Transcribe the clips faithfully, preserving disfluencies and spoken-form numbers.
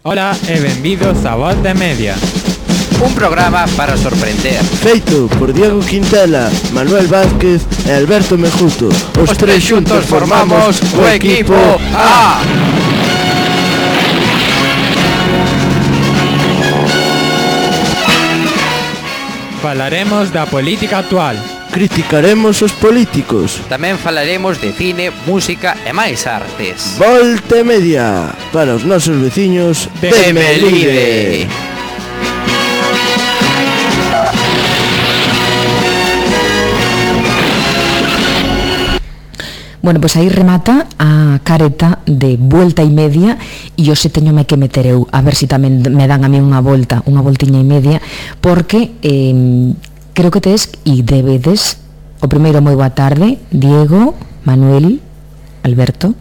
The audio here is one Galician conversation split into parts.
Ola e benvidos a Volta e Media, un programa para sorprender. Feito por Diego Quintela, Manuel Vázquez e Alberto Mejuto. Os, Os tres xuntos formamos o equipo A. Falaremos da política actual. Criticaremos os políticos. Tamén falaremos de cine, música e máis artes. Volta e Media, para os nosos veciños de, de Melide. Bueno, pois pues aí remata a careta de Volta e Media e hoxe teñome que meter eu a ver se si tamén me dan a mí unha volta, unha voltiña e media, porque eh, creo que tes e debedes. O primeiro, moi boa tarde, Diego, Manuel, Alberto.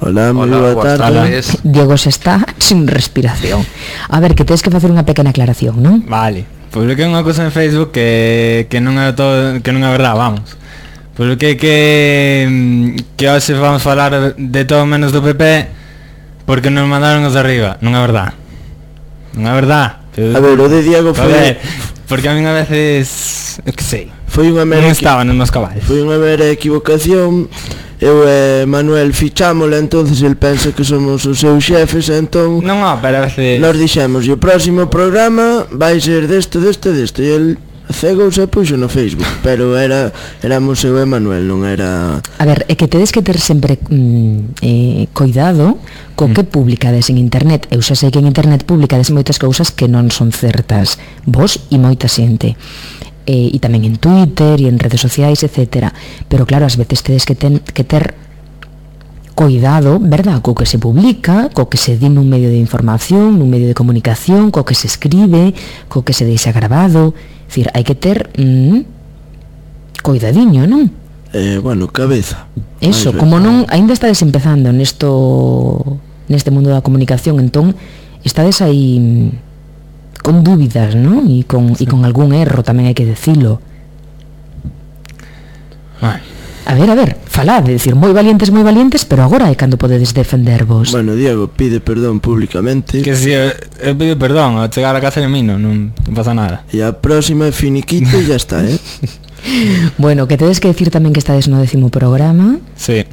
Hola, moi boa tarde. Diego se está sin respiración. A ver, que tes que facer unha pequena aclaración, non? Vale, publiquei unha cousa en Facebook que, que non é todo, que non é verdade, vamos. Publiquei que que hoxe vamos falar de todo menos do P P porque nos mandaron os de arriba. Non é verdade. Non é verdade. A ver, o de Diego foi... A ver, porque a mí a veces... Eu que sei. Foi unha mera... Non estaba nos meus caballos. Foi unha mera equivocación. Eu e Manuel fichámola, entonces el pensa que somos os seus xefes, entón... Non, non, pero a veces... Nos dixemos, e o próximo programa vai ser deste, deste, deste, e el... cegouse e puxo no Facebook, pero era éramos eu e Manuel, non era... A ver, é que tedes que ter sempre mm, eh, cuidado co que publicades en internet. Eu xa sei que en internet publicades moitas cousas que non son certas, vos e moita xente, eh, e tamén en Twitter e en redes sociais, etcétera. Pero claro, ás veces tedes que, ten, que ter cuidado, verdad, co que se publica, co que se di nun medio de información, nun medio de comunicación, co que se escribe, co que se deixa grabado. É dicir, hai que ter mm, cuidadiño, non? Eh, bueno, cabeza. Eso, como non, aínda estades empezando nesto, neste mundo da comunicación, entón estades aí mm, con dúbidas, non? E con, sí. e con algún erro, tamén hai que decilo. Ai. A ver, a ver, falad, é dicir, moi valientes, moi valientes, pero agora é cando podedes defendervos. Bueno, Diego pide perdón públicamente. Que si, eu, eu pido perdón, ao chegar a casa de mí non, non pasa nada. E a próxima é finiquito e ya está, eh? Bueno, que tedes que decir tamén que estades no décimo programa. Sí,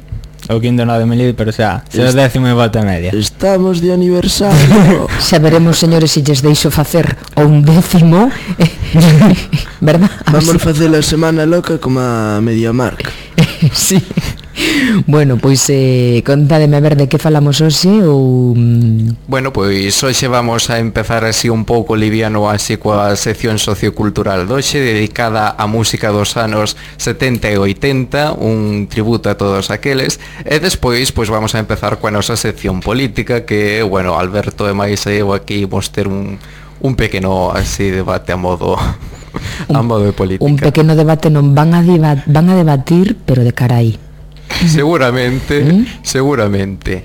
o quinto no de Melide, pero xa, xa Est- décimo e Volta e Media. Estamos de aniversario. Xa veremos, señores, se lles deixo facer o un décimo. Verdad? Vamos a facer a semana loca como a Mediamark. Sí. Bueno, pois eh, contádeme a ver de que falamos hoxe ou... Bueno, pois hoxe vamos a empezar así un pouco liviano así coa sección sociocultural doxe dedicada á música dos anos setenta e oitenta, un tributo a todos aqueles, e despois pois vamos a empezar coa nosa sección política que, bueno, Alberto e máis eu aquí vamos ter un, un pequeno así debate a modo... Un, a modo de política. Un pequeno debate non van a, deba- van a debatir, pero de cara aí. Seguramente, ¿Mm? seguramente.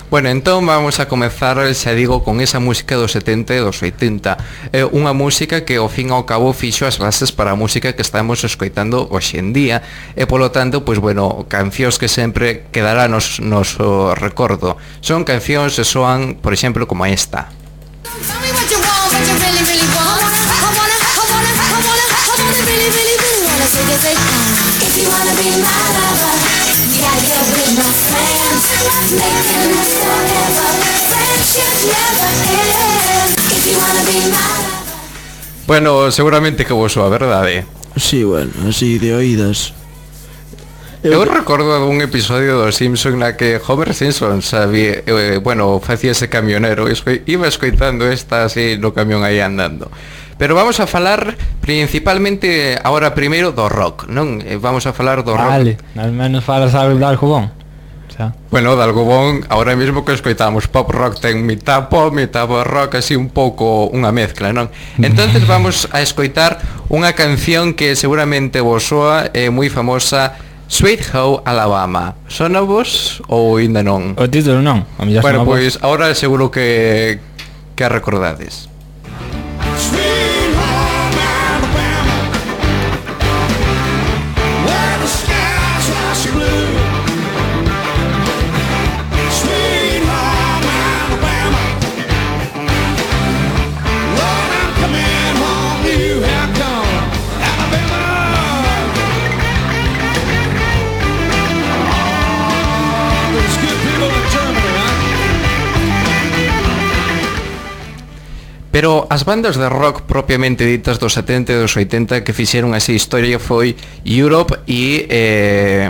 Bueno, entón vamos a comezar, xa digo, con esa música dos setenta e dos oitenta. É unha música que ao fin e ao cabo fixo as bases para a música que estamos escoitando hoxe en día. E polo tanto, pois bueno, cancións que sempre quedará nos, nos o recordo. Son cancións que soan, por exemplo, como esta. If you wanna be my lover, yeah, you'll be my friend. Making us forever, friendship never ends. If you wanna be my lover. Bueno, seguramente que vos soa verdade. Sí, bueno, así de oídas. Eu, Eu recordo un episodio dos Simpson na que Homer Simpson sabía, eh, bueno, facía ese camionero, esco- iba escoitando esta así no camión aí andando. Pero vamos a falar principalmente agora primeiro do rock, non? Vamos a falar do rock. Vale, al menos falas algo de Algobón. Xa. Bueno, de Algobón, ahora mesmo que escoitamos pop rock ten mitad pop, mitad rock, así un pouco unha mezcla, non? Entonces vamos a escoitar unha canción que seguramente vos soa, é moi famosa, Sweet Home Alabama. Sona vos ou ainda non? O título non, a mellor Bueno, sona vos. pois agora seguro que que a recordades. Pero as bandas de rock propiamente ditas dos setenta e dos oitenta que fixeron así historia foi Europe e eh,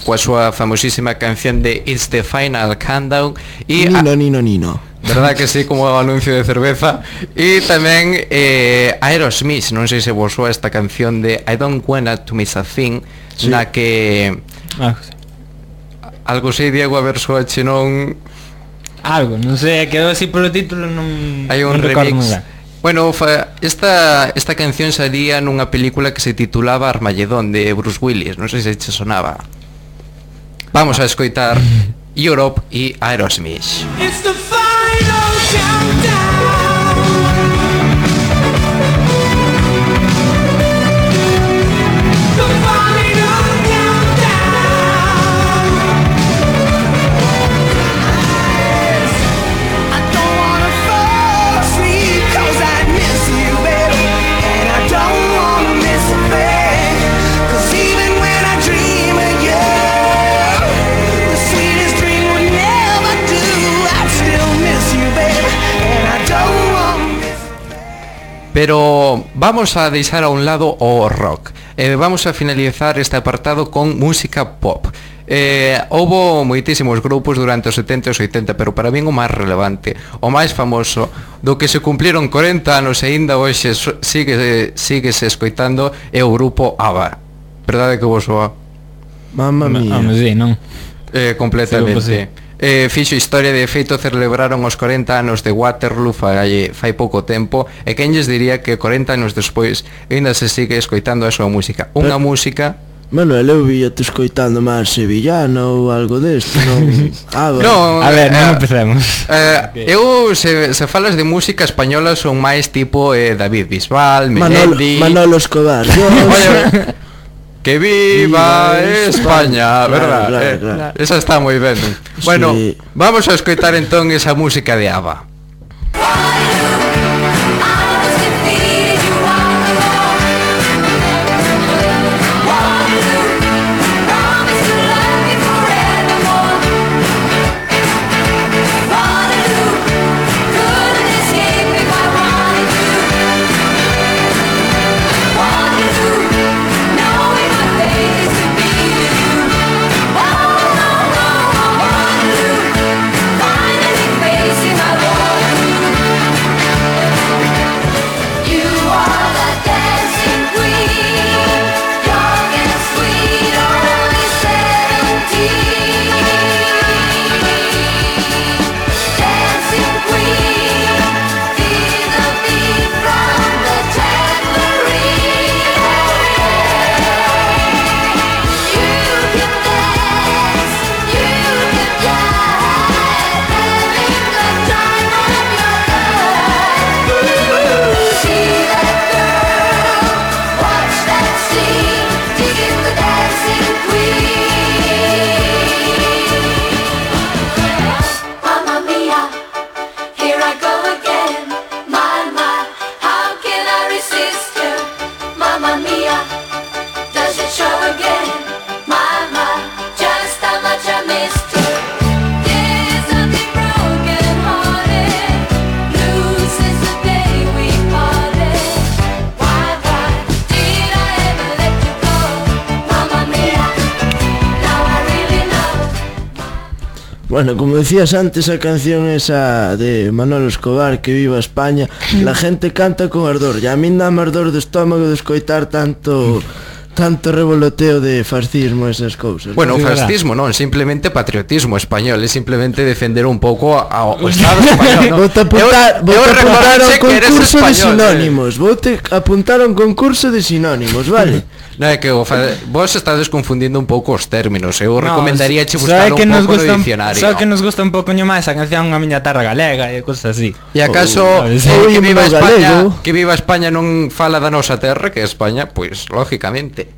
coa súa famosísima canción de It's the Final Countdown e Nino, Nino, Nino. verdad que sí, como o anuncio de cerveza. E tamén eh, Aerosmith, non sei se vos soa esta canción de I Don't Wanna To Miss A Thing, sí. na que Ah, sí. algo sei, Diego, a ver soache non... Algo, non sei, quedou así polo título, non Hai un non recordo moi remix. ben. Bueno, fa, esta, esta canción salía nunha película que se titulaba Armagedón de Bruce Willis, non sei se che sonaba. Vamos a escoitar Europe e Aerosmith. It's the final countdown. The final countdown. I don't wanna fall asleep 'cause I miss you, baby, and I don't wanna miss a thing. 'Cause even when I dream of you, the sweetest dream would never do. I still miss you, baby, and I don't wanna miss a thing. Pero vamos a deixar a un lado o rock. Eh, vamos a finalizar este apartado con música pop. Eh, houbo moitísimos grupos durante os setenta e os oitenta, pero para min o máis relevante, o máis famoso, do que se cumpliron corenta anos e aínda hoxe so- sigue, síguese escoitando, é o grupo ABBA. Verdade que vos soa? Mamma mía. Home, sí, non? Eh, completamente. Sí, Eh, fixo historia, de feito celebraron os corenta anos de Waterloo fai, fai pouco tempo, e quen lles diría que corenta anos despois ainda se sigue escoitando a súa música. Unha Pero- música... Manuel, eu vía-te escoitando máis sevillano ou algo desto, non? Ah, va. No, A ver, non eh, empecemos. Eh, eu, se, se falas de música española, son máis tipo eh, David Bisbal, Manolo, Melendi... Manolo Escobar. Yo, Oye, que viva Viva España, España. verdad? Claro, eh, claro, claro. Esa está moi ben. Bueno, Sí. vamos a escoitar entón esa música de ABBA. Bueno, como decías antes, a canción esa de Manolo Escobar, que viva España, la gente canta con ardor. E a min dá ardor de estómago de escoitar tanto tanto revoloteo de fascismo, esas cousas. Bueno, Sí, fascismo non, simplemente patriotismo español, é simplemente defender un pouco ao Estado español, non? Vou te apuntar, vou Eu- eu te apuntar recordache ao que eres concurso de español, eh. sinónimos. Vou te apuntar a un concurso de sinónimos, vale? Non é que o fa... vos estades confundindo un pouco os términos. Eu No, recomendaría che sabe buscar que un nos pouco gusta no un- diccionario. Sabe que nos gusta un pouco máis a canción A miña terra galega e cosas así. E acaso Oh, eh, sí. que viva Oye, España, galego. que viva España non fala da nosa terra, que é España, pois lógicamente.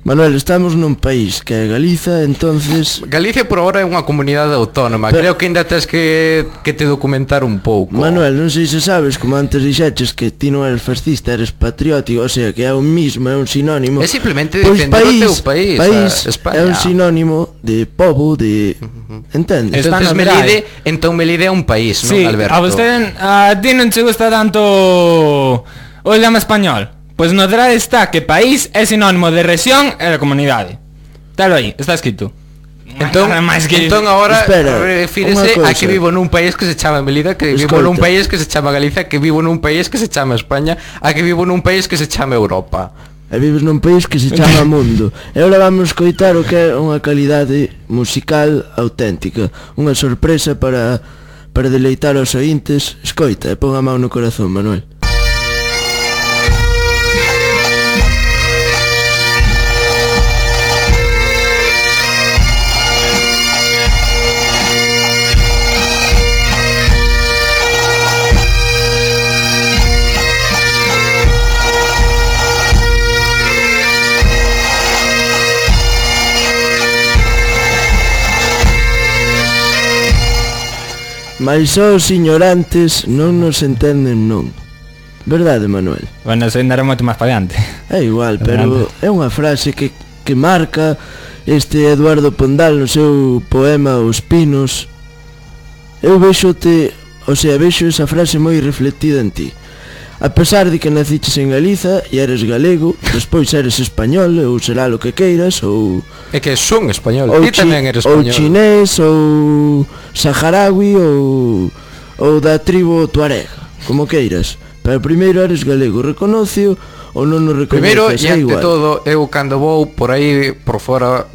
Manuel, estamos nun país que é Galiza, entonces... Galicia por ahora é unha comunidade autónoma. Pero- Creo que ainda tens que, que te documentar un pouco. Manuel, non sei se sabes, como antes dixeches que ti non eres fascista, eres patriótico, o sea, que é un mismo, é un sinónimo. É simplemente Pois defender o teu país, país a España. é un sinónimo de pobo, de... Entendes? Está Entonces na verdade. Melide, entón Melide é un país, Sí, non, Alberto? a vostede, a ti non che gusta tanto o idioma español. Pois no verdade está que país é sinónimo de rexión e de comunidade. Talo aí, está escrito. Entón, Nada máis que... entón agora Espera, refírese unha a que cousa. vivo nun país que se chama Melida, que vivo Escolta. nun país que se chama Galicia, que vivo nun país que se chama España, a que vivo nun país que se chama Europa. E vives nun país que se chama Mundo. E agora vamos coitar o que é unha calidade musical auténtica. Unha sorpresa para para deleitar aos ointes. Escoita, e pon a mão no corazón, Manuel. Mais só os ignorantes non nos entenden non. Verdade, Manuel? Bueno, eso ainda era moito máis para adiante. É igual, pero é unha frase que, que marca este Eduardo Pondal no seu poema Os Pinos. Eu vexote, o sea, vexo esa frase moi reflectida en ti. A pesar de que naciches en Galiza e eres galego, despois eres español ou será lo que queiras, ou... É que son español, ou, ti chi- tamén eres ou español. chinés, ou saharaui, ou, ou da tribo tuareg, como queiras. Pero primeiro eres galego, reconocio ou non o reconoces, Primeiro e é ante igual. todo, eu cando vou por aí por fora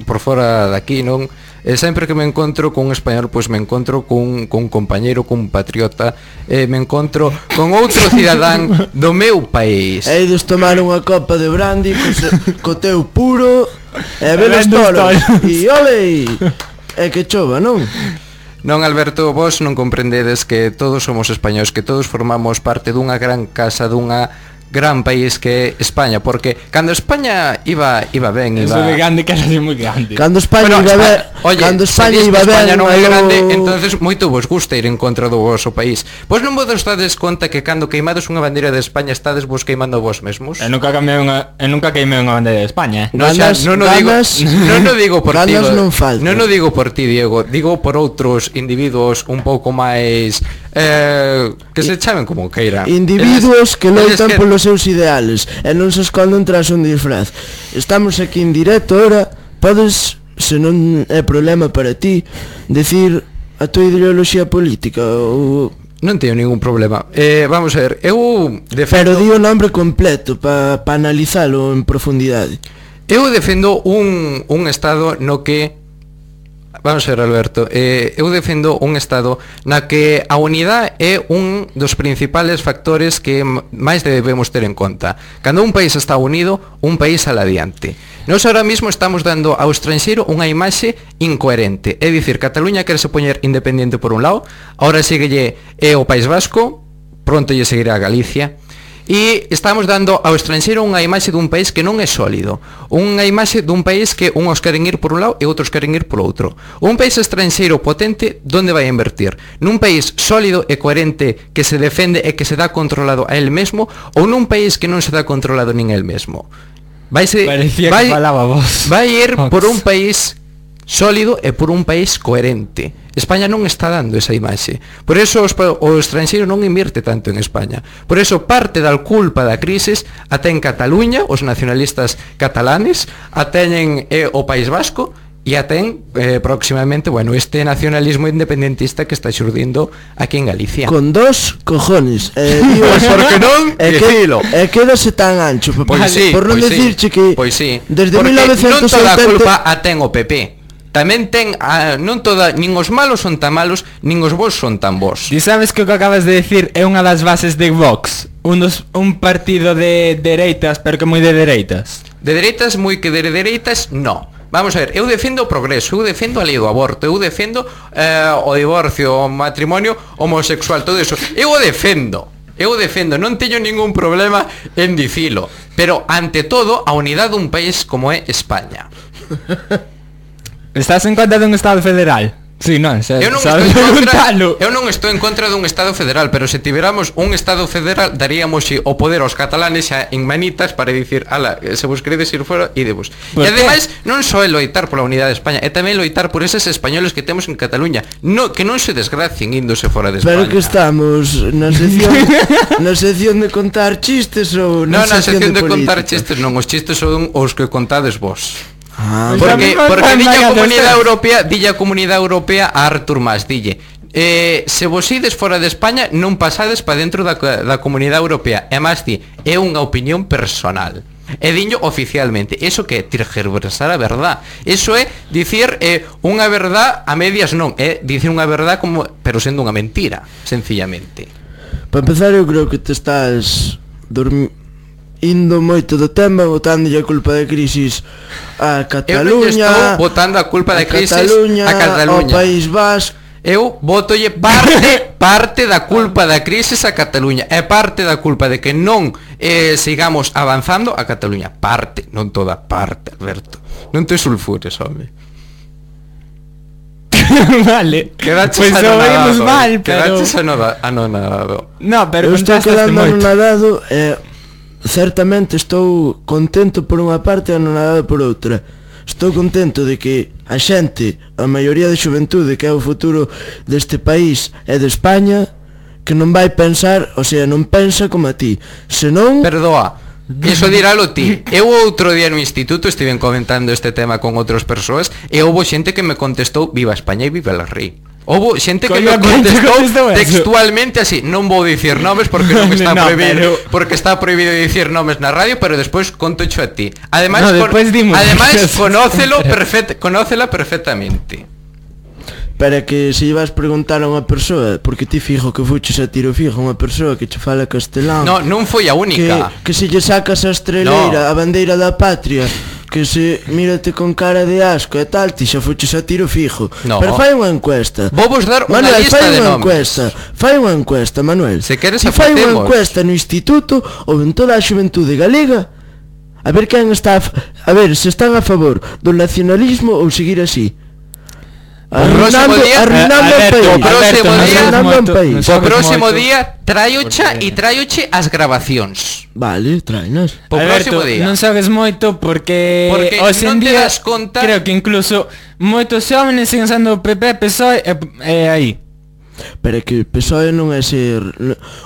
por fora daqui, non? E sempre que me encontro con un español, pois me encontro con, con un compañeiro, con un patriota, e me encontro con outro cidadán do meu país. E ides tomar unha copa de brandy co, se, co teu puro e ver os Vendo os toros. toros. E ole! E que chova, non? Non, Alberto, vos non comprendedes que todos somos españois, que todos formamos parte dunha gran casa, dunha gran país que é España, porque cando España iba iba ben, Eso iba... de grande que era así moi grande. Cando España Bueno, iba ver, Espa- oye, cando España se dis iba que España ben, non é aló- grande, entonces moito vos gusta ir en contra do vosso país. Pois non vos dades conta que cando queimades unha bandeira de España estades vos queimando vos mesmos? E nunca cambiei unha, e nunca queimei unha bandeira de España, eh. No, xa, Ganas- non o digo, ganas- non o digo por ti, ganas non faltan. non o digo por ti, Diego, digo por outros individuos un pouco máis eh, que se chamen como queiran. Individuos que Eles- loitan eles polos seus ideales e non se esconden tras un disfraz. Estamos aquí en directo ahora. Podes, se non é problema para ti, decir a tua ideoloxía política ou... Non teño ningún problema. Eh, vamos a ver, eu Pero defendo, di o nombre completo para pa analizalo en profundidade. eu defendo un, un estado no que Vamos a ver, Alberto, eh, eu defendo un estado na que a unidade é un dos principales factores que m- máis debemos ter en conta. Cando un país está unido, un país sale adiante. Nós ahora mismo estamos dando ao estranxeiro unha imaxe incoherente. É dicir, Cataluña quere se poñer independiente por un lado, ahora síguelle é o País Vasco, pronto lle seguirá a Galicia. E estamos dando ao estranxeiro unha imaxe dun país que non é sólido, unha imaxe dun país que uns queren ir por un lado e outros queren ir por outro. Un país estranxeiro potente, onde vai a invertir? Nun país sólido e coherente que se defende e que se dá controlado a él mesmo, ou nun país que non se dá controlado nin el mesmo? Vaise, Parecía que falaba vos. vai ir Vox. por un país sólido e por un país coherente. España non está dando esa imaxe. Por eso os, pa- o estranxeiro non invierte tanto en España. Por eso parte da culpa da crisis a ten Cataluña, os nacionalistas catalanes, a teñen eh, o País Vasco e a ten eh, próximamente, bueno, este nacionalismo independentista que está xurdindo aquí en Galicia. Con dos cojones. E digo, Por que non? E, Dicilo. que, e quédase tan ancho. Pois Por, sí, por non pois sí, decirche que pois sí. desde Porque mil novecentos non toda a oitenta culpa a ten o P P. Tamén ten a, non toda, nin os malos son tan malos, nin os bons son tan bons. Ti sabes que o que acabas de decir é unha das bases de Vox, un, dos, un partido de dereitas, pero que moi de dereitas. De dereitas, moi que de dereitas, no. Vamos a ver, eu defendo o progreso, eu defendo a lei do aborto, eu defendo eh, o divorcio, o matrimonio homosexual, todo eso. Eu o defendo. eu defendo, non teño ningún problema en dicilo, pero ante todo a unidade dun país como é España. Estás en contra dun Estado federal? Sí, non, xa, eu non estou en contra, eu non estou en contra dun Estado federal, pero se tiveramos un Estado federal daríamos o poder aos catalanes xa en manitas para dicir, ala, se vos queredes ir fora, idevos. E ademais non só é loitar pola unidade de España, é tamén loitar por eses españoles que temos en Cataluña, no, que non se desgracien índose fora de España. Pero que estamos na sección na sección de contar chistes ou na, no, na sección, sección de, de contar chistes, non, os chistes son os que contades vos. Ah, porque porque dilla a Comunidade Europea, dilla a Comunidade Europea a Artur Mas, dille, eh, se vos ides fora de España non pasades para dentro da, da Comunidade Europea. E máis di, é unha opinión personal. E diño oficialmente, eso que é tergiversar a verdad. Eso é dicir eh, unha verdad a medias non, é dicir unha verdad como, pero sendo unha mentira, sencillamente. Para empezar, eu creo que te estás dormindo indo moito do tema, botándolle a culpa da crisis a Cataluña. Eu non estou botando a culpa da crisis Cataluña, a Cataluña, ao País Vasco. Eu botolle parte parte da culpa da crisis a Cataluña, e parte da culpa de que non eh, sigamos avanzando a Cataluña. Parte, non toda, parte, Alberto. Non te sulfures, home. Vale, quedaches pues anonadado, mal, pero... quedaches anonadado. No, pero eu estou quedando anonadado e... Eh, certamente estou contento por unha parte e anonadado por outra. Estou contento de que a xente, a maioría de xuventude que é o futuro deste país e de España, que non vai pensar, o sea, non pensa como a ti. Senón... Perdoa, iso diralo ti. Eu outro día no instituto estiven comentando este tema con outras persoas e houbo xente que me contestou viva España e viva el rei. Houbo xente que me contestou textualmente así, non vou dicir nomes porque non está no, prohibido, pero... porque está prohibido dicir nomes na radio, pero despois conto xo a ti. Ademais, no, con... ademais conócelo perfect... conócela perfectamente. Para que se ibas preguntar a unha persoa, porque ti fijo que fuches a tiro fijo unha persoa que che fala castelán. No, non foi a única. Que, que se lle sacas a estreleira, no. a bandeira da patria, que se mírate con cara de asco e tal, ti xa fuches a tiro fijo. No. Pero fai unha encuesta. Vou vos dar unha Manuel, lista de nomes. Encuesta, fai unha encuesta, Manuel. Se queres ti fai unha encuesta no instituto ou en toda a xuventude galega, a ver quen está a, a ver se están a favor do nacionalismo ou seguir así. Arruinando, arruinando o país. O próximo día traiocha e traioche as grabacións. Vale, traenas. O próximo día. Non sabes moito porque Porque hoxe en non te día das conta. creo que incluso moitos xóvenes siguen sendo P P, P S O E e, e aí. Pero que o P S O E non é ser...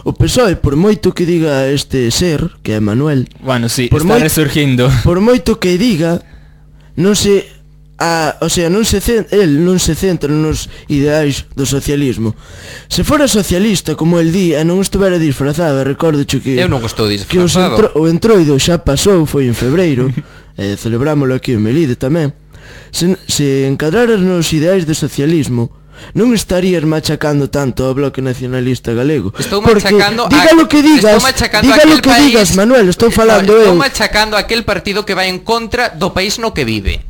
O P S O E, por moito que diga este ser, que é Manuel... Bueno, sí, por está moi... resurgindo. Por moito que diga, non se... A, o sea, non se centra, el non se centra nos ideais do socialismo. Se fora socialista, como el di, e non estuvera disfrazado, recordo que eu non estou que disfrazado. entro, o entroido xa pasou, foi en febreiro, e celebrámoslo aquí en Melide tamén. Se, se encadraras nos ideais do socialismo, non estarías machacando tanto ao bloque nacionalista galego. Estou machacando diga lo que digas, diga lo que país, digas, Manuel, estou falando no, eu. Estou machacando aquel partido que vai en contra do país no que vive.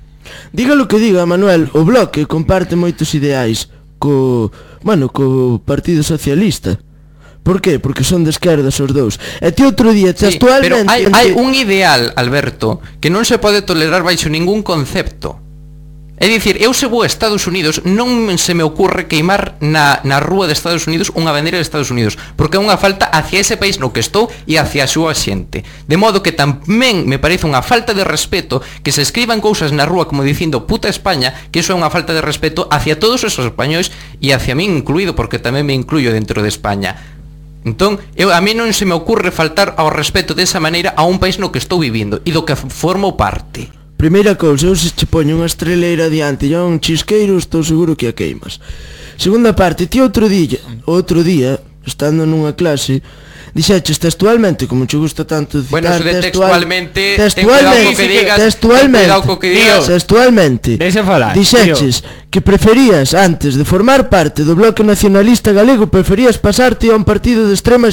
Diga lo que diga, Manuel, o bloque comparte moitos ideais co, bueno, co Partido Socialista. Por qué? Porque son de esquerdas os dous. E ti outro día, sí, textualmente... Pero hai, hai un ideal, Alberto, que non se pode tolerar baixo ningún concepto. É dicir, eu se vou a Estados Unidos non se me ocurre queimar na, na rúa de Estados Unidos unha bandeira de Estados Unidos, porque é unha falta hacia ese país no que estou e hacia a súa xente. De modo que tamén me parece unha falta de respeto que se escriban cousas na rúa como dicindo puta España, que iso é unha falta de respeto hacia todos esos españois e hacia min incluído, porque tamén me incluyo dentro de España. Entón, eu, a mí non se me ocurre faltar ao respeto desa maneira a un país no que estou vivindo e do que formo parte. Primeira cousa, eu se che poño unha estreleira diante e un chisqueiro, estou seguro que a queimas. Segunda parte, ti outro día, outro día, estando nunha clase, dixeches textualmente, como che gusta tanto citar, bueno, de textualmente, textualmente, que digas, textualmente, que digas, textualmente, deixa falar, dixeches tío, que preferías, antes de formar parte do bloque nacionalista galego, preferías pasarte a un partido de extrema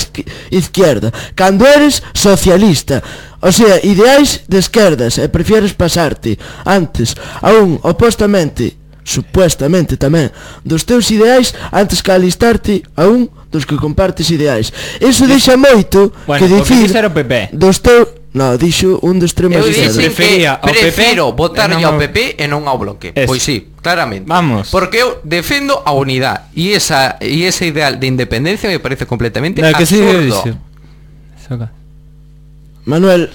izquierda, cando eres socialista. O sea, ideais de esquerdas, e prefieres pasarte antes a un opostamente supuestamente tamén, dos teus ideais antes que alistarte a un dos que compartes ideais. Eso deixa moito Bueno, que o que dicir dixo era o P P. dos teus... No, dixo un dos extremos Eu de dixen izquierda. Prefería que ao P P prefiro e votarlle non ao ao- P P e non ao Bloque. Eso. Pois sí, claramente. Vamos. Porque eu defendo a unidade e esa e ese ideal de independencia me parece completamente No, que sí, absurdo. dixo. Soca. Manuel,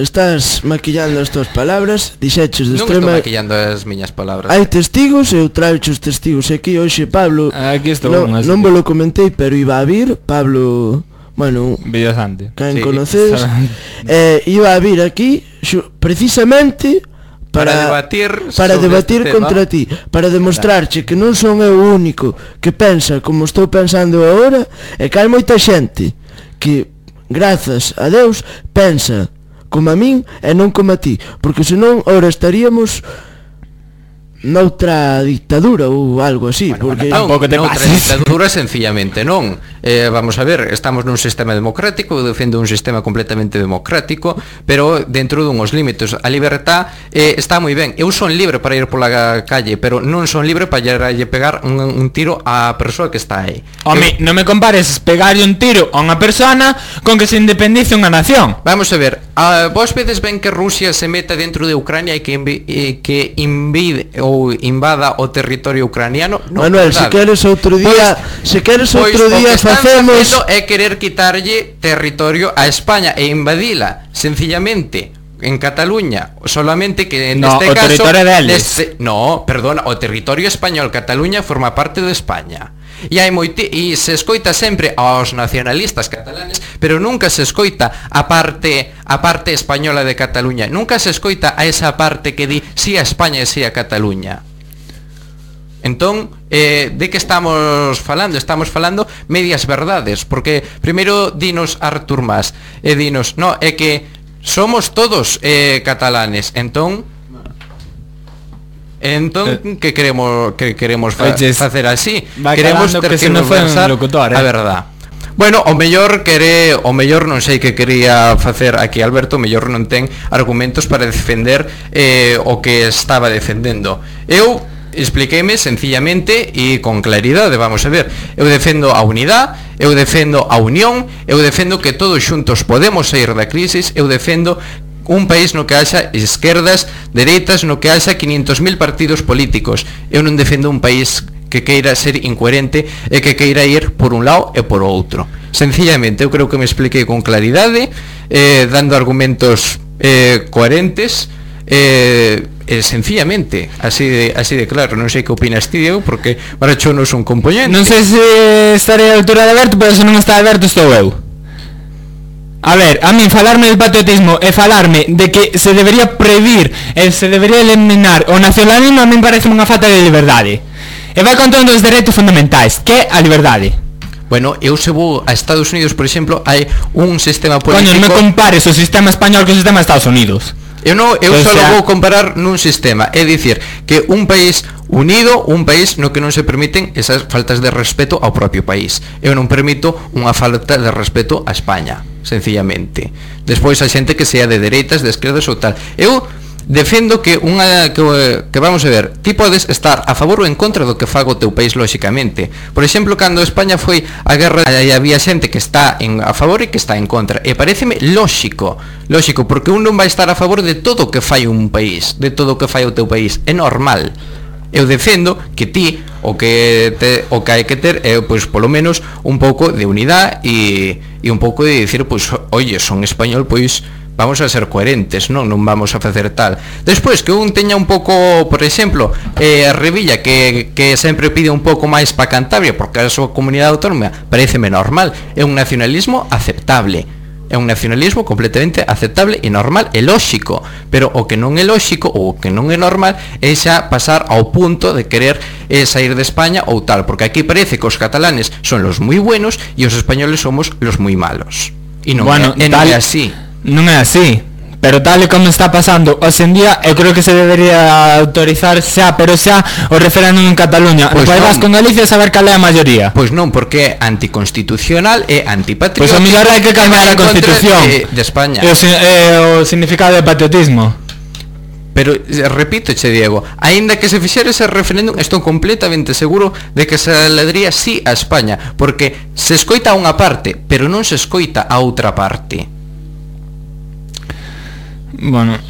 estás maquillando as tuas palabras, dixeches do Non estou extrema... maquillando as miñas palabras. Hai testigos, eu traecho os testigos aquí hoxe, Pablo. Aquí estou non, un, así non que- vos lo comentei, pero iba a vir, Pablo, bueno, Videosante. quen Sí, conocedes, sabe. eh, iba a vir aquí xu- precisamente para, Para debatir para sobre debatir este contra tema. ti, para demostrarche que non son eu o único que pensa como estou pensando agora, e que hai moita xente que, grazas a Deus, pensa como a min e non como a ti, porque senón ahora estaríamos noutra dictadura ou algo así, Bueno, porque non, tampouco te noutra pases. dictadura sencillamente non. Eh, vamos a ver, estamos nun sistema democrático, eu defendo un sistema completamente democrático, pero dentro dunhos límites. A libertad eh, está moi ben. Eu son libre para ir pola calle, pero non son libre para lle pegar un, un tiro á persoa que está aí. Home, Eu- non me compares pegarlle un tiro a unha persona con que se independice unha nación. Vamos a ver, a, vos vedes ben que Rusia se meta dentro de Ucrania e que, invi, e que invide ou invada o territorio ucraniano? Non, Manuel, se verdade. queres outro día, se queres Pois outro o día que están facemos facendo é querer quitarlle territorio a España e invadila, sencillamente en Cataluña, solamente que en No, este o caso territorio deles. neste- no, perdona, o territorio español, Cataluña forma parte de España. E hai moiti e se escoita sempre aos nacionalistas catalanes, pero nunca se escoita a parte a parte española de Cataluña. Nunca se escoita a esa parte que di si a España e si a Cataluña. Entón, eh, de que estamos falando? Estamos falando medias verdades, porque primeiro dinos Artur Mas e dinos, no, é que somos todos eh, catalanes. Entón, entón que queremos que queremos fa Oches, facer así? va Queremos calando que se non foi un tergiversar locutor, eh. a verdad. Bueno, o mellor quere, o mellor non sei que quería facer aquí Alberto, o mellor non ten argumentos para defender eh, o que estaba defendendo. Eu expliqueime sencillamente e con claridade, vamos a ver. Eu defendo a unidade, eu defendo a unión, eu defendo que todos xuntos podemos sair da crisis, eu defendo un país no que haxa esquerdas, dereitas, no que haxa quinientos mil partidos políticos. Eu non defendo un país que queira ser incoherente e que queira ir por un lado e por outro. Sencillamente, eu creo que me expliquei con claridade, eh, dando argumentos eh, coherentes, eh, eh, sencillamente, así de, así de claro. Non sei que opinas ti, Diego, porque para cho non son componente. Non sei se estarei a altura de Alberto, pero se non está Alberto estou eu. A ver, a min falarme del patriotismo e falarme de que se debería prohibir e se debería eliminar o nacionalismo, a min parece unha falta de liberdade. E vai contra un dos dereitos fundamentais, que é a liberdade. Bueno, eu se vou a Estados Unidos, por exemplo, hai un sistema Coño, político... non me compares o sistema español co sistema de Estados Unidos. Eu non, eu O só sea- vou comparar nun sistema, é dicir, que un país unido, un país no que non se permiten esas faltas de respeto ao propio país. Eu non permito unha falta de respeto a España, sencillamente. Despois a xente que sea de dereitas, de esquerdas ou tal. Eu defendo que unha que, que vamos a ver, ti podes estar a favor ou en contra do que faga o teu país, lóxicamente. Por exemplo, cando España foi a guerra, aí había xente que está en, a favor e que está en contra. E paréceme lóxico, lóxico, porque un non vai estar a favor de todo o que fai un país, de todo o que fai o teu país. É normal. Eu defendo que ti o que te, o que hai que ter é pois polo menos un pouco de unidade e e un pouco de dicir, pois, oye, son español, pois vamos a ser coherentes, non non vamos a facer tal. Despois que un teña un pouco, por exemplo, eh, a Revilla que, que sempre pide un pouco máis para Cantabria porque a súa comunidade autónoma, pareceme normal, é un nacionalismo aceptable. É un nacionalismo completamente aceptable e normal e lóxico, pero o que non é lóxico ou o que non é normal é xa pasar ao punto de querer eh, sair de España ou tal, porque aquí parece que os catalanes son los moi buenos e os españoles somos los moi malos. E non, Bueno, é, e non tal- é así. Non é así. Pero tal e como está pasando hoxe en día, eu creo que se debería autorizar xa, pero xa, o referéndum en Cataluña. Pois No País non. Vasco en Galicia saber cal é a maioría. Pois non, porque é anticonstitucional e antipatriótico. Pois a mellor hai que cambiar e vai a en contra Constitución. de, de España. E o, si- e o significado de patriotismo. Pero repito, che Diego, aínda que se fixera ese referéndum, estou completamente seguro de que se ledría sí a España, porque se escoita a unha parte, pero non se escoita a outra parte. Bueno,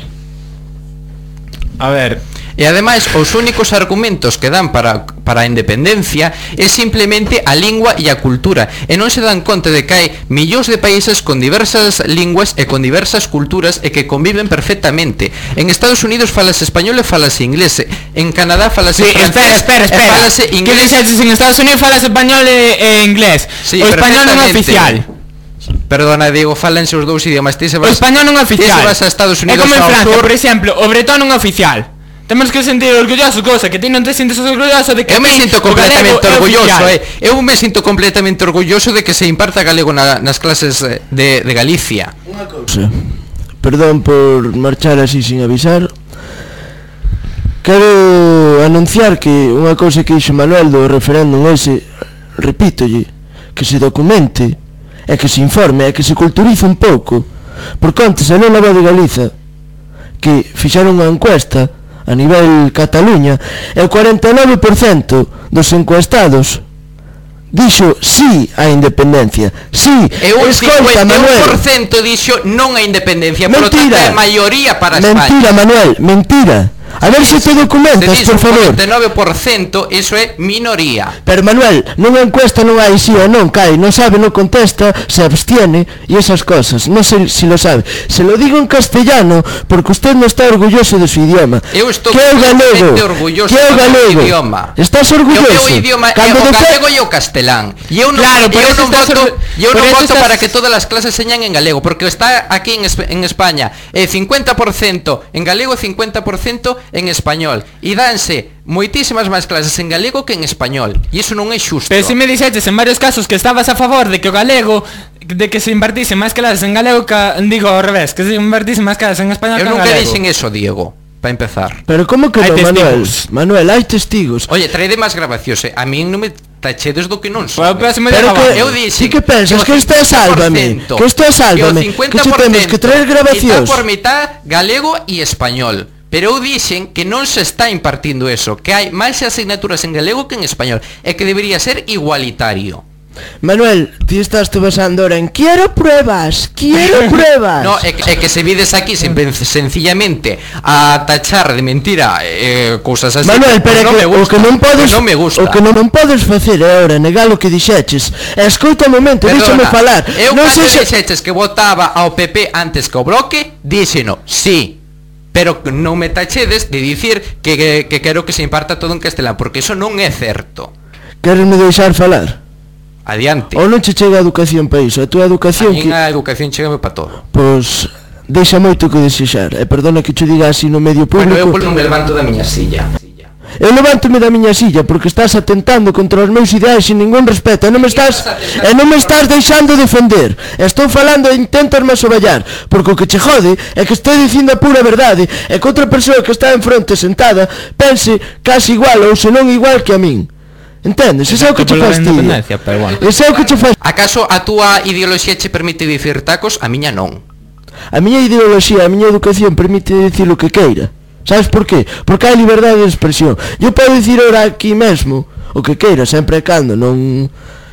a ver, E ademais, os únicos argumentos que dan para, para a independencia é simplemente a lingua e a cultura, e non se dan conta de que hai millóns de países con diversas linguas e con diversas culturas e que conviven perfectamente. En Estados Unidos falase español e falase inglés, en Canadá falase sí, francés espera, espera, espera. e falase inglés. Que dixetes en Estados Unidos falas español e, e inglés? Sí, o español non é perfectamente. oficial. Perdona, Diego, falanse os dous idiomas. Ti se O vas, español non é ti oficial. se vas a Estados Unidos é como en ao Francia, sur. por exemplo, o bretón non é oficial. Temos que sentir orgullosos, cosa que ti non te sientes orgulloso de que Eu me ti sinto o completamente galego é orgulloso, oficial. eh. Eu me sinto completamente orgulloso de que se imparta galego na, nas clases de, de Galicia. Unha cousa, perdón por marchar así sin avisar. Quero anunciar que unha cousa que dixo Manuel do referéndum ese, repítolle, que se documente, e que se informe, e que se culturice un pouco. Porque antes, en unha voz de Galiza, que fixeron unha encuesta a nivel Cataluña, e o cuarenta e nove por cento dos encuestados dixo sí á independencia. Sí, E un escolta, cincuenta e un por Manuel. ciento dixo non a independencia, por lo tanto Mentira. é maioría para Mentira, España. Manuel, mentira. A ver se te documentas, Se por dice un favor. cuarenta e nove por ciento, iso é minoría. Pero Manuel, nunha encuesta non hai sí ou non, cae, non sabe, non contesta, se abstiene e esas cosas, non sei si lo sabe. Se lo digo en castellano porque usted non está orgulloso de su idioma. Eu estou que é o galego? completamente orgulloso que é o do meu galego? idioma. Estás O orgulloso? meu idioma é Cando o de galego fe- e o castelán. E eu non, Claro, por eu eso non estás voto, orgu- eu por non eso voto estás- para que todas as clases señan en galego, porque está aquí en, Esp- en España é cincuenta por ciento en galego e cincuenta por ciento en español. E danse moitísimas máis clases en galego que en español. E iso non é xusto. Pero si me dixetes en varios casos que estabas a favor de que o galego, de que se impartise máis clases en galego que, digo ao revés, que se impartise máis clases en español Eu que en nunca galego. dixen eso, Diego, para empezar. Pero como que Hai non, Manuel? testigos. Manuel, hai testigos. Oye, traede máis grabacións, eh. A min non me tachedes do que non son. Pues, pues, me Pero deja que, Eu dixen sí que pensas que o isto é Sálvame, cincuenta por ciento, que isto é Sálvame, que o que che temos que traer grabacións. Está por mitad galego e español. Pero eu dixen que non se está impartindo eso, que hai máis asignaturas en galego que en español, e que debería ser igualitario. Manuel, ti estás te basando ahora en quiero pruebas, quiero pruebas. No, é que, é que se vides aquí simple- sencillamente a tachar de mentira eh, cousas así. Manuel, pero pues non que, me o gusta, que non podes pues non me gusta. o que non, non podes facer é ahora negar o que dixeches. E escoita un momento, Perdona, déxame falar. Eu non cando sexa- dixeches que votaba ao P P antes que ao Bloque, díxeno, sí. Pero que non me tachedes de dicir que, que, que quero que se imparta todo en castelán, porque eso non é certo. Queresme deixar falar? Adiante. Ou non che chega a educación para iso? A tua A educación min que... a educación chegame para todo. Pois... Deixa moito que desexar. E perdona que che diga así no medio Bueno, eu público. non me levanto da miña silla. Eu levántome da miña silla porque estás atentando contra os meus ideais sin ningún respeto e non me estás e non me estás deixando defender. Estou falando e intentas-me asoballar porque o que che jode é que estou dicindo a pura verdade e que outra persoa que está en fronte sentada pense casi igual ou senón igual que a min. Entendes? Ese é o que che Excepto pola fastidia. independencia, pero bueno. Ese é o que che fastidia. Acaso a túa ideoloxía che permite dicir tacos? A miña non. A miña ideoloxía, a miña educación permite dicir o que queira. Sabes por qué? Porque hai liberdade de expresión. Eu podo dicir ahora aquí mesmo o que queira, sempre e cando non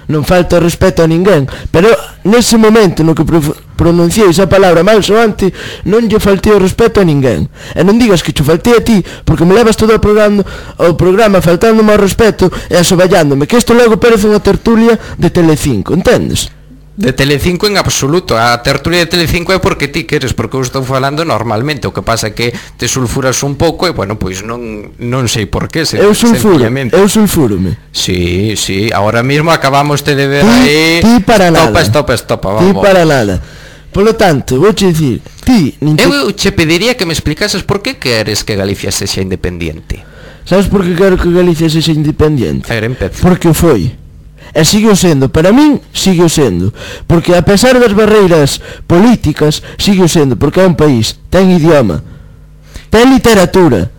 non falta respeto a ninguén, pero nese momento no que pro pronunciei esa palabra mal soante, non lle faltei o respeto a ninguén. E non digas que che faltei a ti, porque me levas todo o programa, o programa faltándome ao respeto e asoballándome, que isto logo parece unha tertulia de Telecinco, entendes? De Telecinco en absoluto. A tertulia de Telecinco é porque ti queres, porque eu estou falando normalmente. O que pasa é que te sulfuras un pouco e, bueno, pois non non sei por qué. Se, Eu sulfuro, sencillamente. eu sulfurome. Sí, sí, ahora mismo acabamos de ver Ti, aí. ti para nada. Stopa, stopa, stopa, Ti vamos. para nada. Polo tanto, vou che dicir, ti nin te... Eu che pediría que me explicases por que queres que Galicia sexa independiente. Sabes por que quero que Galicia sexa independiente? A ver, empeza. Porque o foi. E sigue o sendo, para min sigue o sendo. Porque a pesar das barreiras políticas, sigue o sendo, porque é un país, ten idioma, ten literatura,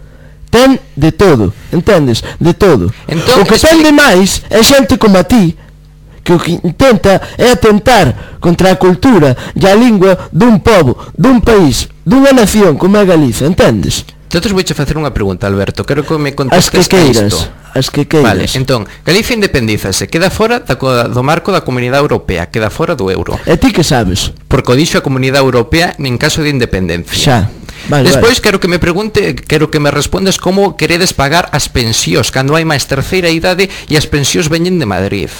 ten de todo, entendes? De todo. Entón, O que ten expli- de máis é xente como a ti, que o que intenta é atentar contra a cultura e a lingua dun pobo, dun país, dunha nación como é Galiza, entendes? Entonces vouche facer unha pregunta, Alberto. Quero que me As que contestes a queiras, isto. as que queiras. Vale, entón, Galicia independízase, queda fora da, co- do marco da Comunidade Europea, queda fora do euro. E ti que sabes? Porque o dixo a Comunidade Europea en caso de independencia. Xa. Vale, Despois vale. quero que me pregunte, quero que me respondas como queredes pagar as pensións cando hai máis terceira idade e as pensións veñen de Madrid.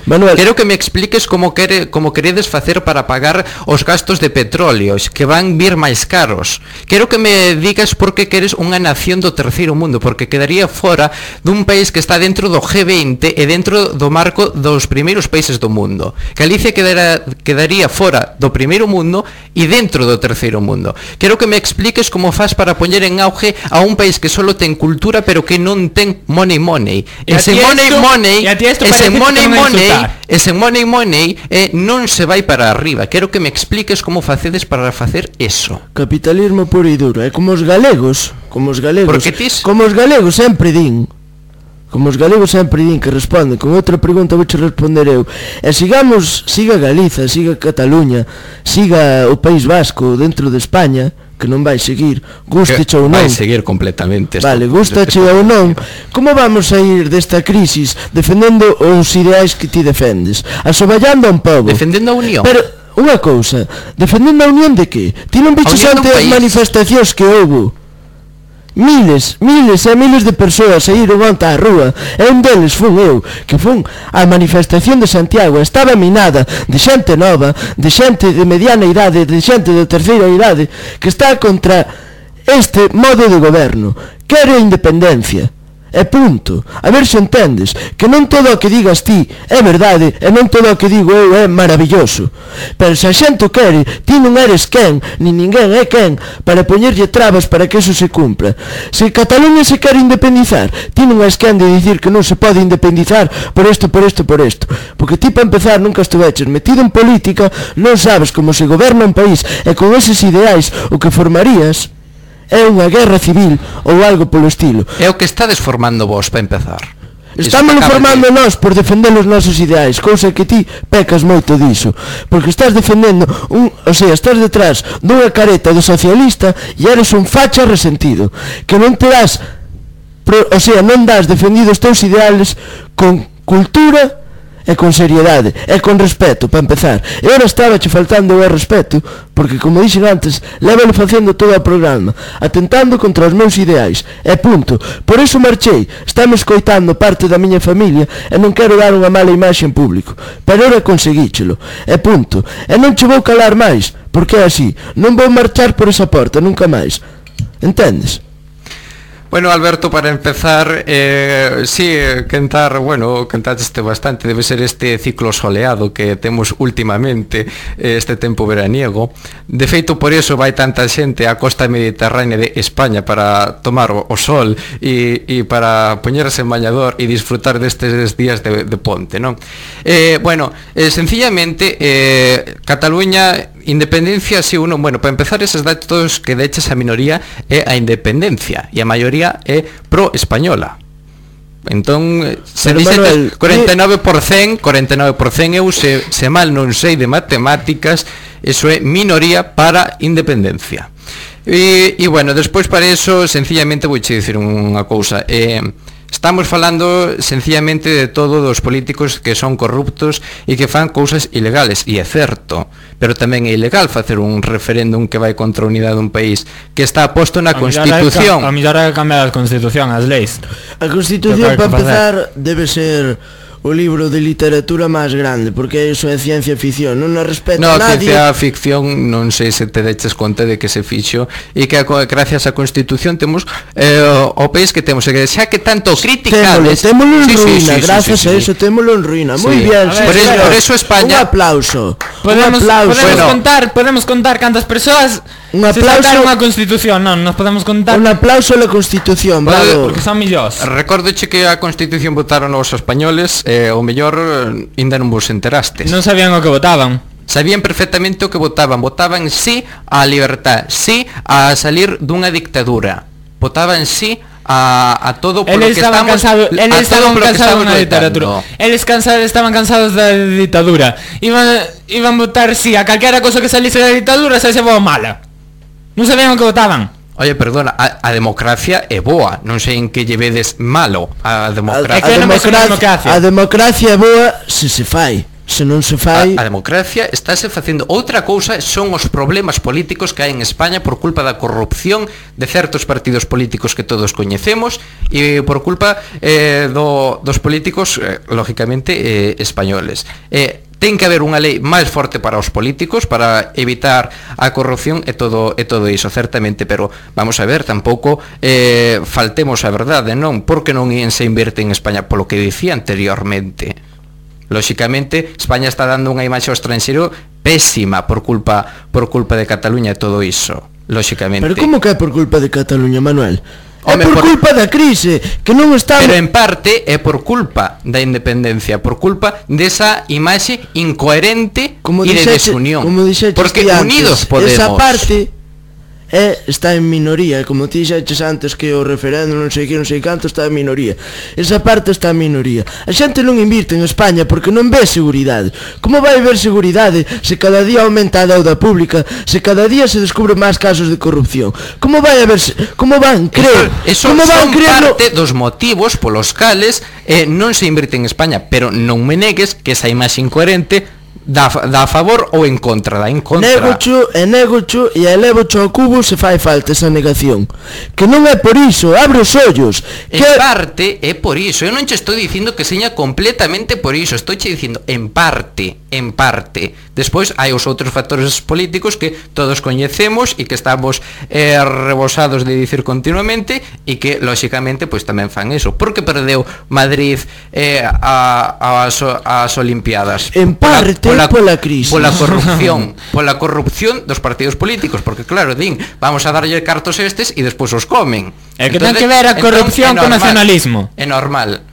Manuel, Quero que me expliques como quere, como queredes facer para pagar os gastos de petróleos que van vir máis caros. Quero que me digas por que queres unha nación do terceiro mundo, porque quedaría fora dun país que está dentro do G veinte e dentro do marco dos primeiros países do mundo. Galicia quedará, quedaría fora do primeiro mundo e dentro do terceiro mundo. Quero que me expliques como faz para poñer en auge a un país que solo ten cultura pero que non ten money money. E a Ese ti money esto- money, e a ti esto ese parece que money te van a money, insultar. ese money money eh, non se vai para arriba. Quero que me expliques como facedes para facer eso. capitalismo puro e duro. É como os galegos, como os galegos. Porque tis- Como os galegos sempre din. Como os galegos sempre din que responden. Con outra pregunta vouche responder eu. E sigamos, siga Galiza, siga Cataluña, siga o País Vasco dentro de España, que non vai seguir, gusteche ou non. Vai seguir completamente esto. Vale, gustache ou non. Como vamos a ir desta crisis defendendo os ideais que ti defendes? Asoballando a un pobo. Defendendo a unión. Pero, unha cousa, defendendo a unión de que? Ti non biches A unión ante dun as país. manifestacións que houbo? Miles, miles e miles de persoas saíron onte á rúa. E un deles fun eu, que fun á manifestación de Santiago. Estaba minada de xente nova, de xente de mediana idade, de xente de terceira idade, que está contra este modo de goberno. Quere a independencia. E punto. A ver se entendes que non todo o que digas ti é verdade e non todo o que digo eu é maravilloso. Pero se a xente o quere, ti non eres quen, nin ninguén é quen para poñerlle trabas para que eso se cumpra. Se Cataluña se quere independizar, ti non és quen de dicir que non se pode independizar por isto, por isto, por isto. Porque ti para empezar nunca estuveches metido en política, non sabes como se goberna un país e con eses ideais o que formarías é unha guerra civil ou algo polo estilo. É o que estades formando vos para empezar. Estámoslo Iso que acabas formando de- nós por defender os nosos ideais, cousa que ti pecas moito diso, porque estás defendendo un, o sea, estás detrás dunha careta do socialista e eres un facha resentido, que non te das, pro, o sea, non das defendido os teus ideales con cultura e con seriedade, e con respeto, para empezar. E ora estaba che faltando o respeto, porque, como dixen antes, lévalo facendo todo o programa, atentando contra os meus ideais, e punto. Por iso marchei, estamos coitando parte da miña familia, e non quero dar unha mala imaxe en público, pero ora conseguíchelo, e punto. E non che vou calar máis, porque é así, non vou marchar por esa porta, nunca máis. Entendes? Bueno, Alberto, para empezar, eh, sí, cantar, bueno, cantaste bastante, debe ser este ciclo soleado que temos últimamente, eh, este tempo veraniego. De feito, por eso vai tanta xente á costa mediterránea de España para tomar o, o sol e, e para poñerse en bañador e disfrutar destes días de, de ponte, non? Eh, bueno, eh, sencillamente, eh, Cataluña... Independencia, si uno, bueno, para empezar esos datos que de hecho esa minoría é a independencia e a maioría é pro-española. Entón, se Pero, dice Manuel, cuarenta y nueve por ciento, cuarenta y nueve por ciento eu se, se mal non sei de matemáticas, eso é minoría para independencia. E, e bueno, despois para eso, sencillamente vouche dicir unha cousa, eh, estamos falando sencillamente de todos os políticos que son corruptos e que fan cousas ilegales, e é certo, pero tamén é ilegal facer un referéndum que vai contra a unidade dun país que está posto na Constitución. A mellor hai que cambiar a Constitución, as leis. A Constitución, Que para hai que empezar, debe ser o libro de literatura máis grande, porque iso é ciencia ficción, non a respeta No, nadie. ciencia ficción, non sei se te deches conta de que se fixo e que gracias á Constitución temos eh, o, o país que temos, e que xa que tanto criticades. Témolo, témolo en Sí, sí, ruína, sí, sí, gracias sí, sí. a eso témolo en ruína. Sí. Muy bien, A sí, ver, por eso- señor. por eso España- Un aplauso. Podemos, un aplauso. podemos Bueno. contar, podemos contar cantas persoas Un se aplauso- saltaron a Constitución, non, nos podemos contar Un aplauso a la Constitución, Vale, bravo. porque son millós. Recordoche que a Constitución votaron os españoles, e eh, o mellor eh, ainda non vos enterastes. Non sabían o que votaban. Sabían perfectamente o que votaban. Votaban sí á libertad, sí a salir dunha dictadura. Votaban sí a, a todo por lo Eles que estaban estamos cansados, a eles todo estaban por lo que cansados estamos na loitando. literatura. Eles cansados, estaban cansados da ditadura. Iban iban votar sí a calquera cosa que salise da ditadura, se se vou mala. Non sabían o que votaban. Oye, perdona, a, a democracia é boa, non sei en que lle vedes malo a democracia. A, a, democracia, democracia. a democracia é boa se se fai. Se non se fai... A, a democracia estáse facendo. Outra cousa son os problemas políticos que hai en España por culpa da corrupción de certos partidos políticos que todos coñecemos e por culpa eh, do, dos políticos, eh, lógicamente, eh, españoles. Eh, ten que haber unha lei máis forte para os políticos para evitar a corrupción e todo e todo iso, certamente, pero vamos a ver, tampouco eh, faltemos a verdade, non? Porque non se invierte en España, polo que dicía anteriormente. Lóxicamente, España está dando unha imaxe ao estranxeiro pésima por culpa por culpa de Cataluña e todo iso, lóxicamente. Pero como que é por culpa de Cataluña, Manuel? É por, por culpa da crise, que non está... Pero en parte é por culpa da independencia, por culpa desa imaxe incoherente e de desunión. Como dixeches porque antes, unidos podemos. Esa parte é, está en minoría, como ti dixeches antes que o referéndum non sei que, non sei canto, está en minoría. Esa parte está en minoría. A xente non invirte en España porque non ve seguridade. Como vai ver seguridade se cada día aumenta a deuda pública, se cada día se descubre máis casos de corrupción? Como vai a ver, como van crer? Eso, eso como van son creerlo? Parte dos motivos polos cales eh, non se invirte en España, pero non me negues que esa imaxe incoherente Da, da a favor ou en contra, da en contra. Negocho e negocho e elevocho ao cubo se fai falta esa negación. Que non é por iso, abre os ollos. En que... parte é por iso. Eu non che estou dicindo que seña completamente por iso. Estou che dicindo en parte, en parte. Despois hai os outros factores políticos que todos coñecemos e que estamos eh, rebosados de dicir continuamente e que, lóxicamente, pois tamén fan eso. Por que perdeu Madrid eh, a, a, as, as Olimpiadas? En parte pola, pola crise, pola corrupción, pola corrupción dos partidos políticos, porque claro, din, vamos a darlle cartos estes e despois os comen. É que ten que ver a corrupción con nacionalismo. É normal.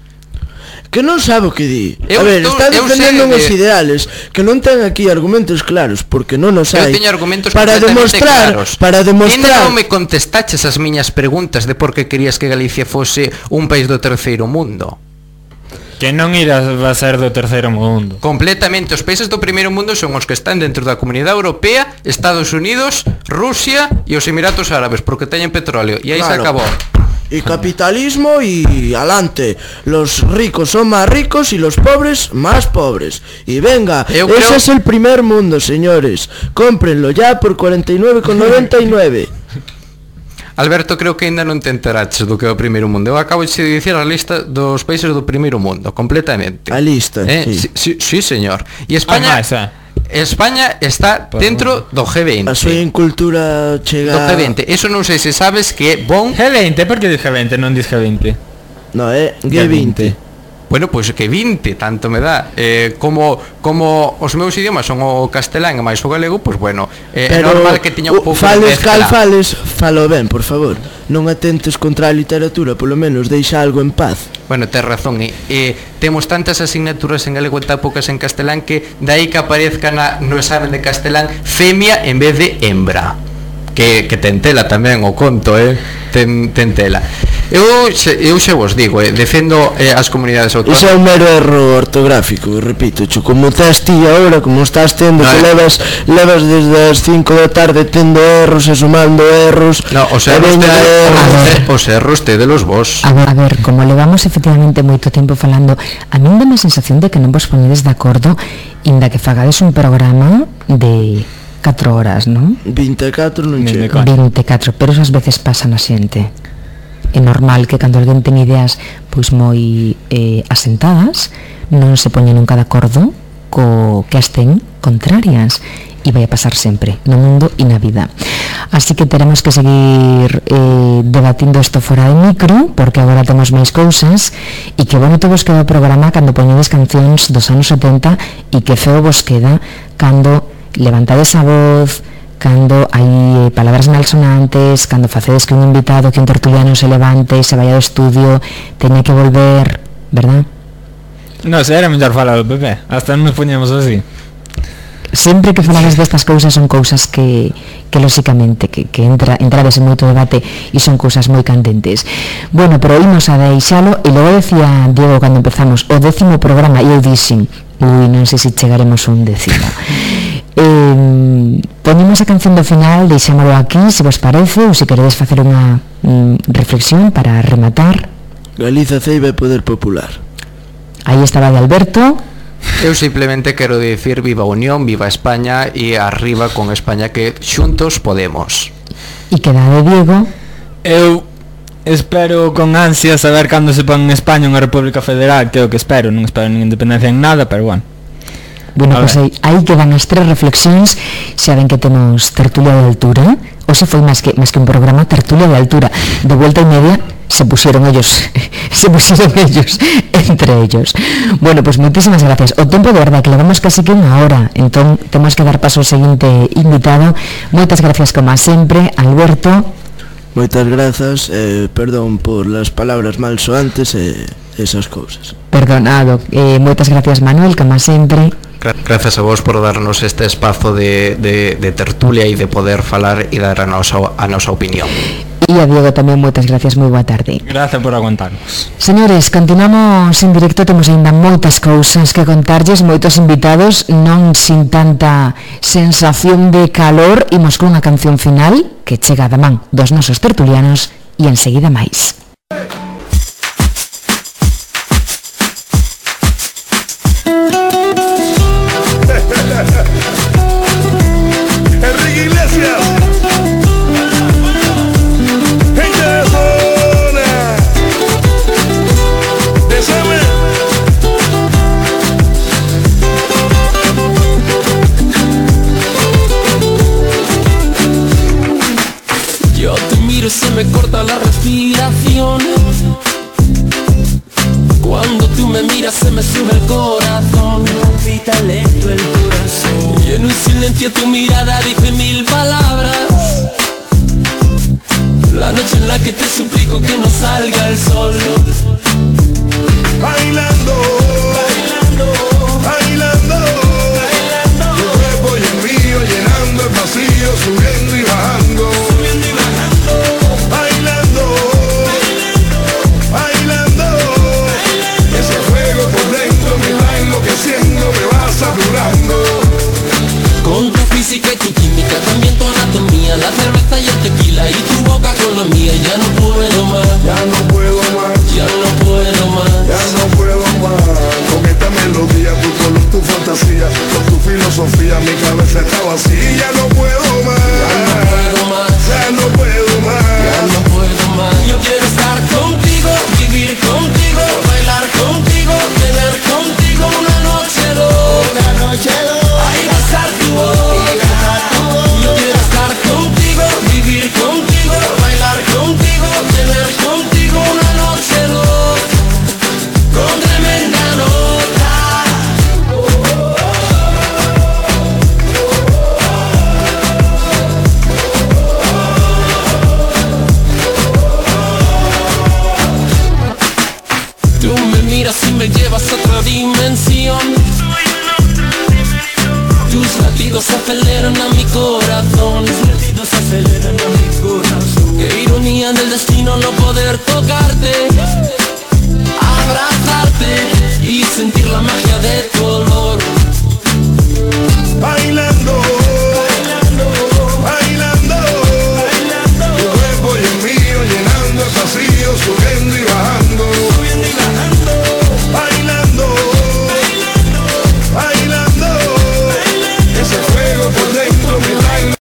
Que non sabe o que di. Eu a ver, estou, está defendendo uns de... ideales que non ten aquí argumentos claros, porque non os hai. Eu teño argumentos para demostrar, claros. Para demostrar. E non me contestaches as miñas preguntas de por que querías que Galicia fose un país do terceiro mundo. Que non irá a ser do terceiro mundo. Completamente, os países do primeiro mundo son os que están dentro da Comunidade Europea, Estados Unidos, Rusia e os Emiratos Árabes, porque teñen petróleo, e aí claro. Se acabou. Y capitalismo y alante. Los ricos son más ricos y los pobres más pobres. Y venga, Eu ese creo... es el primer mundo, señores. Cómprenlo ya por cuarenta y nueve con noventa y nueve. Alberto, creo que ainda non te enteraches do que é o primeiro mundo. Eu acabo de dicir a lista dos países do primeiro mundo, completamente. A lista, eh? sí. Sí, sí, señor. E España... Ah, máis, eh. España está dentro do G veinte. A súa incultura chega... Do G veinte. Eso non sei se sabes que é bon... G veinte, por que dis G veinte, non dis G veinte? No, é G veinte. Bueno, pois pues que vinte, tanto me dá. Eh, como como os meus idiomas son o castelán e máis o galego, pois pues bueno, eh, é normal que tiña un pouco de mezcla. Cal fales, falo ben, por favor. Non atentes contra a literatura, polo menos deixa algo en paz. Bueno, tes razón, e eh, temos tantas asignaturas en galego e tan poucas en castelán que dai que aparezca na, no examen de castelán femia en vez de hembra. Que, que ten tela tamén o conto, eh? Ten, ten tela. Eu xe, eu xe vos digo, eh, defendo eh, as comunidades autónomas. Iso é un mero erro ortográfico, repito, cho, como estás ti agora, como estás tendo, no, que eh. levas levas desde as cinco da tarde tendo erros e sumando erros. No, os erros de erros, os erros de los vos. A ver, a ver, como levamos efectivamente moito tempo falando, a min dame a sensación de que non vos poñedes de acordo inda que fagades un programa de catro horas, non? vinte e catro non chega. vinte e catro, pero esas veces pasan a xente. É normal que cando alguén ten ideas pois moi eh, asentadas non se poña nunca de acordo co que as ten contrarias, e vai a pasar sempre no mundo e na vida. Así que teremos que seguir eh, debatindo isto fora de micro, porque agora temos máis cousas, e que bonito vos queda o programa cando poñedes cancións dos anos setenta, e que feo vos queda cando levantades a voz, cando hai eh, palabras malsonantes, cando facedes que un invitado, que un tertuliano se levante e se vaya do estudio, teña que volver, verdad? No, se era mellor falar do P P, hasta non nos poñemos así. Sempre que falades destas cousas son cousas que, que lóxicamente, que, que entra, entrades en moito debate e son cousas moi candentes. Bueno, pero imos a deixalo, e logo decía Diego cando empezamos o décimo programa, e eu dixen, ui, non sei se chegaremos a un décimo. Eh, ponemos a canción do final, deixámolo aquí, se vos parece, ou se queredes facer unha mm, reflexión para rematar. Galiza, Ceiba e Poder Popular. Aí estaba de Alberto. Eu simplemente quero dicir viva a Unión, viva España e arriba con España, que xuntos podemos. E queda de Diego. Eu espero con ansia saber cando se pon en España unha república federal, que é o que espero, non espero nin independencia en nada, pero bueno. Bueno, pois pues aí, aí quedan as tres reflexións. Xa ven que temos tertulia de altura. Hoxe foi máis que máis que un programa, tertulia de altura. De vuelta e media se pusieron ellos se pusieron ellos entre ellos. Bueno, pois pues moitísimas gracias. O tempo de verdade que levamos casi que unha hora, entón temos que dar paso ao seguinte invitado. Moitas gracias como sempre, Alberto. Moitas grazas, eh, perdón por las palabras malsoantes e eh, esas cousas. Perdonado. Eh, moitas gracias, Manuel, como sempre. Grazas a vos por darnos este espazo de, de, de tertulia e de poder falar e dar a nosa, a nosa opinión. E a Diego tamén moitas gracias, moi boa tarde. Gracias por aguantarnos. Señores, continuamos en directo, temos ainda moitas cousas que contarlles, moitos invitados, non sin tanta sensación de calor. Imos con unha canción final que chega da man dos nosos tertulianos e enseguida máis. Enrique Iglesias, gente de zona, desame. Yo te miro y se me corta la respiración. Cuando tú me miras se me sube el corazón, palpita lento el corazón. Y en un silencio tu mirada dice mil palabras. La noche en la que te suplico que no salga el sol. Bailando, bailando, bailando, bailando. Tu cuerpo y el mío llenando el vacío, subiendo y bajando, subiendo y bajando. Bailando, bailando, bailando. Ese fuego por dentro me va enloqueciendo, me va saturando. Con tu física y tu química, también tu anatomía, la cerveza y el tequila y tu boca con la mía. Ya no puedo más, ya no puedo más, ya no puedo más, ya no puedo más. Con esta melodía, tu color, tu fantasía, con tu filosofía, mi cabeza está vacía. Ya no puedo más, ya no puedo más, ya no puedo más, ya no puedo más. Yo quiero estar contigo, vivir contigo, bailar contigo, tener contigo una noche dos, una noche dos. Ahí va a estar tu voz. Yo quiero estar contigo, vivir contigo, bailar contigo, tener contigo una noche dos, con tremenda nota. Tú me miras y me llevas a otra dimensión. Tus latidos aceleran a mi corazón, tus latidos aceleran a mi corazón. Qué ironía del destino no poder tocarte, abrazarte y sentir la magia de tu olor.